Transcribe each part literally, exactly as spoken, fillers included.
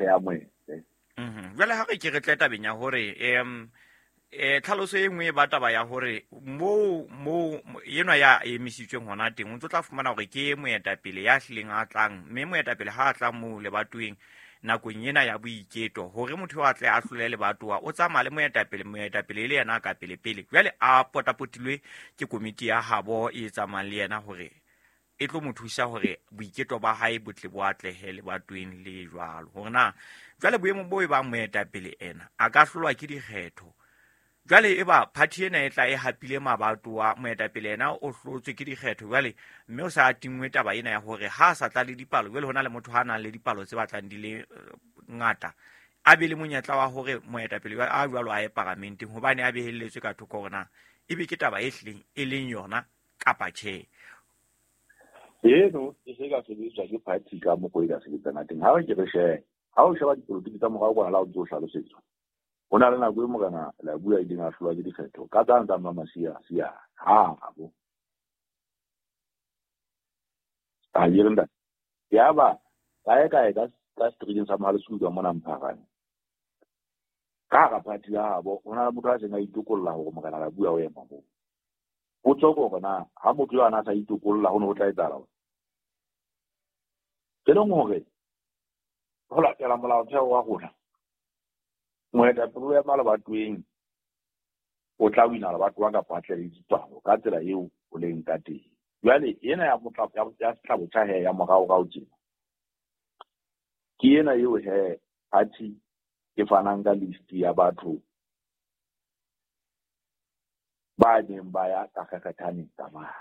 e amohele. Mhm. Jwale ha re ke re tle tabeng ya hore em eh tlhaloso e nngwe e ba taba ya hore moo moo enwa ya emisitsweng hona teng o ntso tla fumana hore ke moetapele ya hlileng a tlang, mme moetapele ha a tla moo lebatoweng nakong ena ya boiketo hore motho a tle a hlole lebatowa o tsamaya le moetapele, moetapele e le yena ka pele pele. Jwale a potapotilwe ke komiti ya habo e tsamayang le yena hore e tlo mo thusa hore boiketo ba hae bo tle bo atlehe lebatoweng le jwalo. Hore na jwale boemo bo e bang moetapele ena a ka hlolwa ke dikgetho. Jwale e ba party ena e tla e hapile mabatowa, moetapele ena o hlotswe ke dikgetho jwale, mme o sa tingwe taba ena ya hore ha a sa tla le dipalo, jwale hona le motho ha nang le dipalo tse batlang di le ngata, a be le monyetla wa hore moetapele a jwalo a ye paramenteng hobane a behelletswe ka thoko hore na ebe ke taba e hlileng e leng yona kapa tjhe. Eno e se ka sebediswa ke party ka mokgwa e ka sebetsang teng. Ha re ke re shebe, ha o sheba dipolotiki tsa morao kwana la o ntso hlalosetswa, ho na le nako e morena la bua ileng a hlolwa ke dikgetho ka tsane tsa Mmamasia sia ha bo a yere ntate. Yaba kae kae ka ka streeteng sa Mohalesuka mona Mpharane, ka hara party ya habo ho na le motho a seng a itokolla hore morena la bua o ema moo. Potso ke hore na ha motho eo a na sa itokolla ho ne ho tla etsahala eng? E leng hore ho latela molaotheo wa rona, moetapele o ema lebatoweng o tla wina lebatowa kapa a tle le dipalo ka tsela eo o leng ka teng. Jwale ena ya motla ya setlhabotjha he ya moraorao tjena ke ena eo he party e fanang ka list ya batho ba neng ba ya ka kgekgethaneng tsamaya.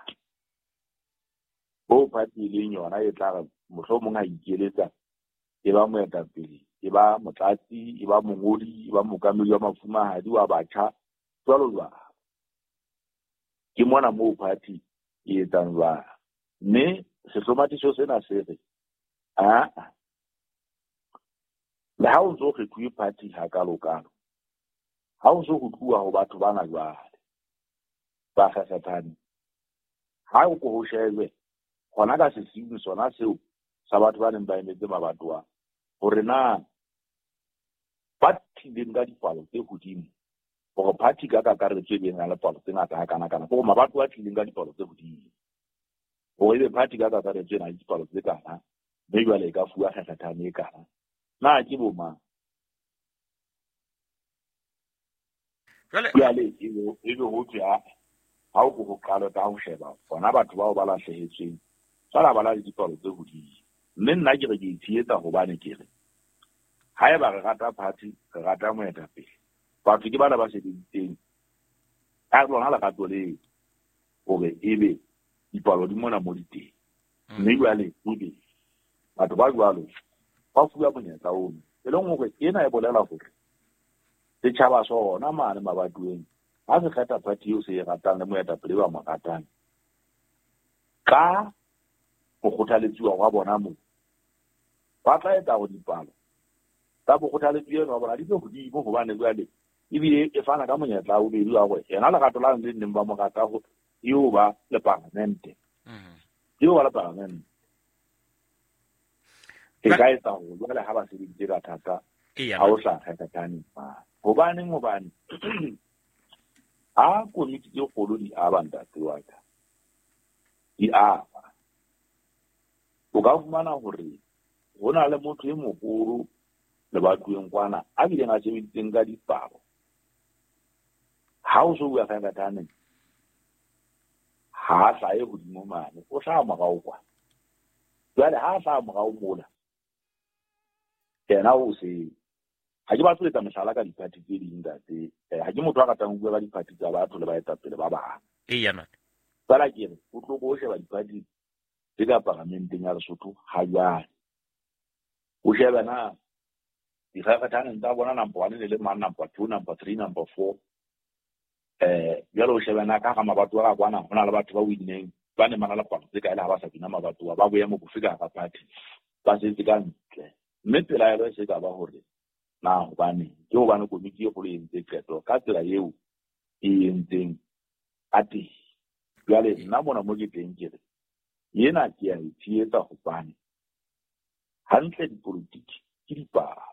Bo party e leng yona e tla re mohlomong ha ikeletsa e ba moetapele, e ba motlatsi, e ba mongodi, e ba mookamedi wa mafumahadi wa batjha, jwalo jwalo. Ke mona moo party e etsang jwalo. Mme sehlomathiso sena se re aa le ha o ntso kgethuwe party hakalokalo, ha o ntso ho tluwa ho batho bana jwale ba kgekgethane, ha o ko ho shejwe hona ka sesiung sona seo sa batho ba neng ba emetse mabatowa hore na ba tlileng ka dipalo tse hodimo, hore party ka kakaretso e beng le palo tse ngata hakana-kana, hore mabatowa a tlileng ka dipalo tse hodimo, hore ebe party ka kakaretso e na le dipalo tse kana, mme jwale e ka fuwa kgekgethane e kana. Na ke bo mang? Jwale ebe ho thwe ha ha o ko ho qalwe ka ho sheba bona batho bao ba lahlehetsweng fela ba na le dipalo tse hodimo. Mme nna ke re ke itshehetsa hobane ke re haeba re rata party, re rata moetapele, batho ke bana ba sebeditseng ka lona lerato leo hore ebe dipalo di mona mo di teng. Mme jwale ebe batho ba jwalo ba fuwa monyetla ono, e leng hore ena e bolela hore setjhaba sona mane mabatoweng ha se kgetha party eo se e ratang le moetapele ba mo ratang ka ho kgothaletsiwa hwa bona moo, ba tla etsa hore dipalo tsa bokgothaletsi eno wa bona di be hodimo, hobane jwale ebile e fana ka monyetla wa bobedi wa hore yena lerato la le neng ba mo rata ho eo ba le paramente, eo ba le paramente e ka etsa hore jwale ha ba sebeditse ka thata ha o sa kgekgethane. Hobaneng? Hobane ha komiti tse kgolo di aba ntate wa ka, di aba, o ka fumana hore ho na le motho e moholo lebatoweng kwana a bileng a sebeditseng ka dipalo. Ha o so bua kgekgethane ha a hlahe hodimo mane, o hlaha morao kwana. Jwale ha a hlaha morao mola, yena o se ha ke batle ho etsa mehlala ka diphathi tse ding ntate. Ha ke motho a ratang ho bua ka diphathi tsa batho le baetapele ba bang. Eya ntate. Fela ke re o tlo ko sheba diphathi tse ka paramenteng ya Lesotho ha jwale. O shebe na dikgekgethane tsa bona number one ne le mang, number two, number three, number four. Eh jwale o shebe na ka hara mabatowa ka kwana ho na le batho ba winneng ba neng ba na le palo tse kae le ha ba sa bina mabatowa, ba boemo bofe ka hara party ba setse ka ntle. Mme pelaelo e se ka ba hore na hobane ke hobane komiti e kgolo e entse qeto ka tsela eo e entseng ka teng. Jwale nna mona mo ke teng ke re ena ke a e tshehetsa hobane hantle dipolotiki Ke dipalo.